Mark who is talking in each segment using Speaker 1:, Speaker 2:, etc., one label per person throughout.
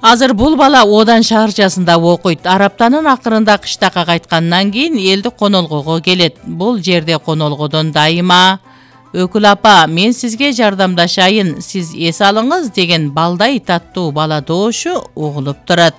Speaker 1: Азыр бул бала Одан шаарчасында окуйт. Араптанын акырында кыштакка кайткандан кийин элдик конолгого келет. Бул жерде конолгодон дайыма «Өкүл апа, мен сизге жардамдашайын, сиз эс алыңыз» деген балдай таттуу бала доошу угулуп турат.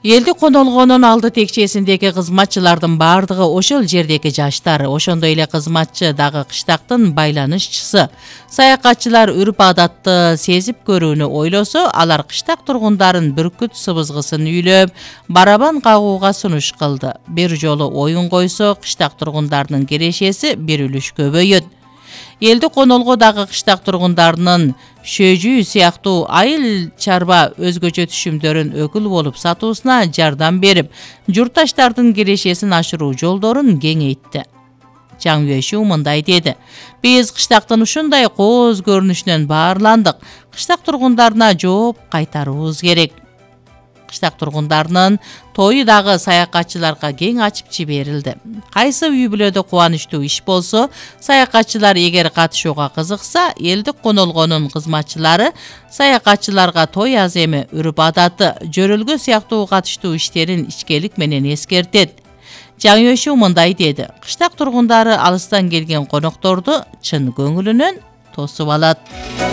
Speaker 1: Элдик конолгонун алды текчесиндеги кызматчылардын бардыгы ошол жердеги жаштар, ошондой эле кызматчы дагы кыштактын байланышчысы. Саякатчылар үрп адатты сезип көрүүнү ойлосо, алар кыштак тургундарын бүркүт сыбызгысын үйлөп, барабан кагууга сунуш кылды. Бир жолу оюн койсо, кыштак тургундарынын кирешеси бир үлүш көбөйөт. Элдик конолго дагы кыштак тургундарынын шөжүү сыяктуу айыл чарба өзгөчө түшүмдөрүн өкүл болуп сатуусуна жардам берип, журтташтардын кирешесин ашыруу жолдорун кеңейтти. Жаңөшүү мындай деди: «Биз кыштактын ушундай кооз көрүнүшүнөн баарландык. Кыштак тургундарына жооп кайтарыбыз керек». Кыштак тургундарынын тою дагы саякатчыларга кең ачып жиберилди. Кайсы үй бүлөдө кубанычтуу иш болсо, саякатчылар эгер катышууга кызыкса, элдик конолгонун кызматчылары саякатчыларга той аземи, үрп адаты, жөрөлгө сыяктуу катыштуу иштерин ичкелик менен эскертет. Жаңөшүү мындай деди: «Кыштак тургундары алыстан келген конокторду чын көңүлүнөн тосуп алат».